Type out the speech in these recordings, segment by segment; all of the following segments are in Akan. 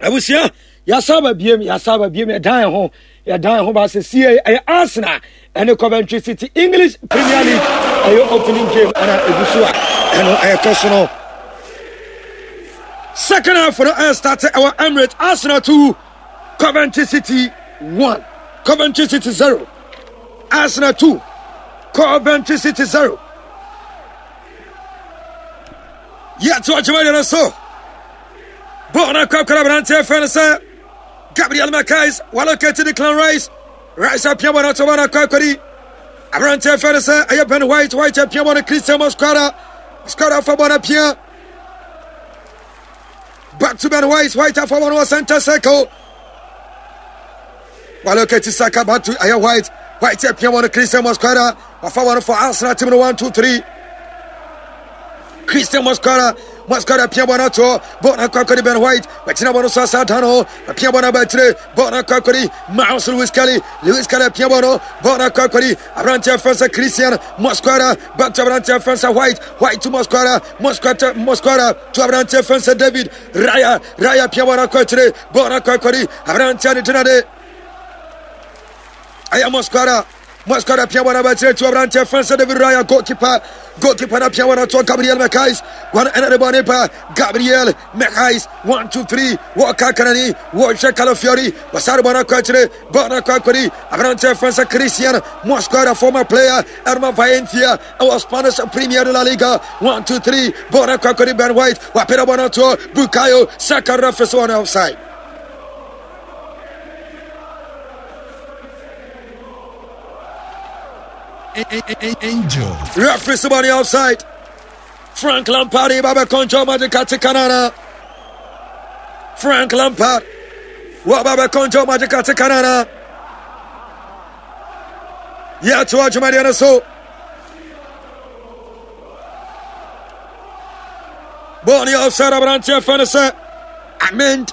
Abusua, yɛasa aba biem, yɛasa aba biem, yɛdan yɛn ho, yɛdan yɛn ho ba sɛ sie ɛyɛ Arsenal ɛne Coventry City English Premier League ɛyɛ opening game ɛna egu so a ɛno ɛkɔ so no. Second half no ɛyɛ start ɛwɔ Emirates, Arsenal 2, Coventry City 1, Coventry City 0, Arsenal 2, Coventry City 0. Yɛto adwuma deɛ no so. Bɔɔl no akɔ akɔda aberanteɛ fɛ no sɛ Gabriel Marquez walokɛti Declan Rice. Rice apia bɔɔl no ato bɔɔl no akɔ akɔdi aberanteɛ fɛ no sɛ ɛyɛ Ben White. White apia bɔɔl no Christian Mosquera. Mosquera afa bɔɔl no apia. Back to Ben White. White afa bɔɔl no wɔ center circle. Walokɛti Saka back to ɛyɛ White. White apia bɔɔl no Christian Mosquera. Wafa wɔn for Arsenal team no 1 2 3. Christian Mosquera Mosquera pia bɔ no ato bɔ no akɔ akɔdi Ben White wagyina bɔ no so asa dan ho apia bɔ no aba akyire bɔ no akɔ akɔdi Miles Lewis Kelly Lewis Kelly apia bɔ no bɔ no akɔ akɔdi aberanteɛ fɛn sɛ Christian Mosquera back to aberanteɛ fɛn sɛ White White to Mosquera Mosquera Mosquera to aberanteɛ fɛn sɛ David Raya Raya pia bɔ no akɔ akyire bɔ no akɔ akɔdi aberanteɛ ne gyina de ɛyɛ Mosquera Mosquera apia wɔn abakyerɛ tu aberanteɛ fɛn sɛ David Raya goalkeeper goalkeeper no apia wɔn ato Gabriel Mekais wɔn ɛna de bɔ ne ba Gabriel Mekais 1 2 3 wɔka kanani wɔhwɛ Calafiori wɔsare bɔ no akɔ akyire bɔ no akɔ akɔdi aberanteɛ fɛn sɛ Christian Mosquera former player ɛnoma Valencia ɛwɔ Spanish Premier de la Liga 1 2 3 bɔ no akɔ akɔdi Ben White wapere bɔ no ato Bukayo Saka referee sɛ wɔn offside. Angel. Referee somebody outside. Frank Lampard, Baba Conjo Magic Kanana. Frank Lampard. Baba Conjo Magic Kanana. Yeah, to Ajumariana so. Bɔɔl offside aberanteɛ fɛ no sɛ Amend.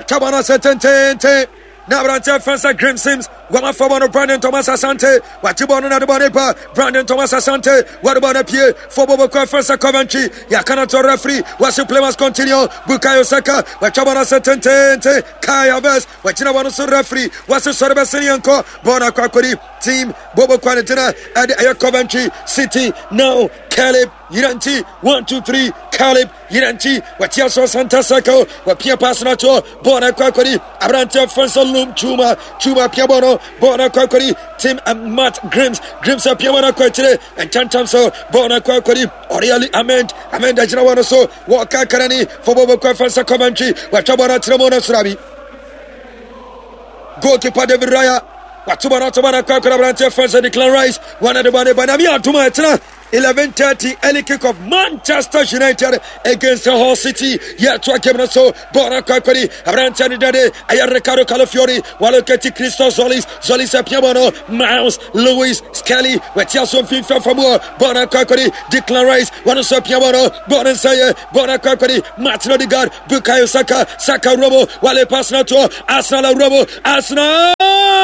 Taba no sɛ tententen. Na aberanteɛ fɛn sɛ Grim Sims wɔn afa bɔ no Brandon Thomas Asante wakye bɔ no na de bɔ ne ba Brandon Thomas Asante wɔde bɔ no pie fo bɔ bɔkɔ fɛn sɛ Coventry yɛaka no to referee wɔse play must continue Bukayo Saka wɔatwa bɔ no sɛ tententen Kai Havertz wɔagyina bɔ no so referee wɔse sɔre bɛsene yɛnkɔ bɔɔl no akɔ akɔdi team bɔbɔkɔ ne gyina ɛde ɛyɛ Coventry City now Caleb Yiranti 1 2 3 Caleb Yiranti watia so center circle wapia pass no ato bɔɔl no akɔ akɔdi aberanteɛ fɛn sɛ Lum Chuma Chuma apia bɔɔl no bɔɔl no akɔ akɔdi Tim and Matt Grims Grims apia bɔɔl no akɔ akyire nkyɛnkyɛn so bɔɔl no akɔ akɔdi Oriali Amend Amend agyina bɔɔl no so wɔka karani fo bɔɔl bɛkɔ fɛn sɛ Coventry watwa bɔɔl no akyerɛ mu no soro goalkeeper David Raya wato bɔɔl no ato bɔɔl no akɔ akɔdi aberanteɛ fɛn sɛ Declan Rice wɔn de bɔɔl no ba na mi adum a ɛtena 11:30 early kickoff Manchester United against Hull City yɛtoa game no so bɔɔl no akɔ akɔdi aberanteɛ no dade ɛyɛ Ricardo Calafiori walokati Christos Zolis Zolis apia bɔɔl no Miles Lewis Skelly watia so mfimfini afa mu bɔɔl no akɔ akɔdi Declan Rice wɔn nso apia bɔɔl no bɔɔl no nsa yɛ bɔɔl no akɔ akɔdi Martin Odegaard Bukayo Saka Saka Robo wale pass no to Arsenal Robo Arsenal.